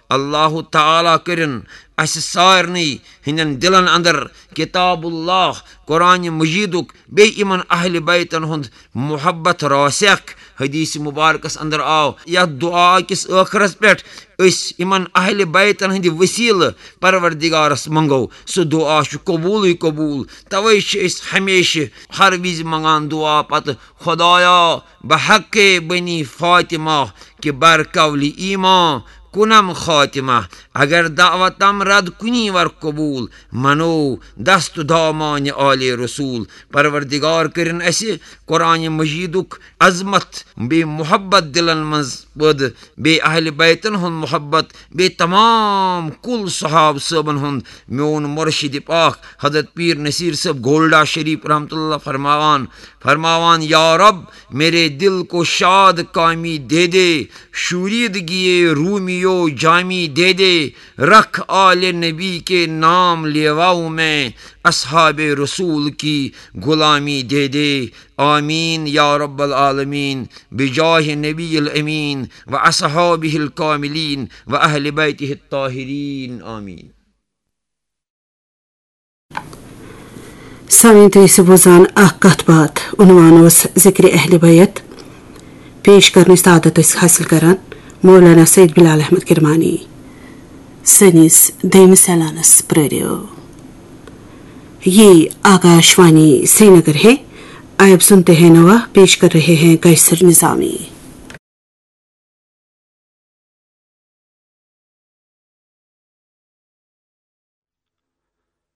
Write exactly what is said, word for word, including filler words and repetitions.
اللہ تعالیٰ کٔرِن اسہِ سارنٕے ہٕنٛدٮ۪ن دِلن اندر کتاب اللہ، قرآن مجیدُک، بیٚیہِ یِمن اہل بیتن ہُنٛد محبت راسخ۔ حدیث مبارکس اندر آو یتھ دعا کِس ٲخرس پٮ۪ٹھ، أسۍ یِمن اہل بیتن ہٕنٛدِ وسیلہٕ پروردگارس منٛگو، سُہ دعا چھُ قبوٗلٕے قبوٗل۔ توے چھِ أسۍ ہمیشہِ ہر وِزِ منٛگان دعا پتہٕ، خدایا، بحق بنی فاطمہ کہ بر قول ایمان کنم خاتمہ، اگر دعوتم رد کنی ور قبول، منو دست دامان آل رسول۔ پروردگار کٔرِن اسہِ قرآن مجیدُک عظمت بیٚیہِ محبت دِلن منٛز پٲدٕ، بیٚیہِ اہل بیتن ہُنٛد محبت، بیٚیہِ تمام کُل صحابہٕ صٲبن ہُنٛد۔ میون مرشد پاک حضرت پیر نصیر صٲب گولڈا شریف رحمت اللہ فرماوان، فرماوان، یا رب، میرے دل کو شاد کامی دے دے، شوریدگی رومیو جامی دے دے، رکھ آل نبی کے نام لیواؤں میں، اصحاب رسول کی غلامی دے دے۔ آمین یا رب العالمین، بجاہ نبی الامین و اصحابہ الکاملین و اہل بیتہ الطاہرین۔ آمین۔ سامعین، تُہۍ ٲسِو بوزان اکھ کتھ باتھ، عنوان اوس ذکر اہل بیت۔ پیش کرنٕچ سعادت ٲسۍ حٲصِل کران مولانا سید بلال احمد کرمانی۔ سٲنِس دوٚیمِس اعلانس پرٛٲرِو۔ یہ آکاش وانی سرینگر ہے۔ آئے اب سنتے ہیں نوا، پیش کر رہے ہیں قیصر نظامی۔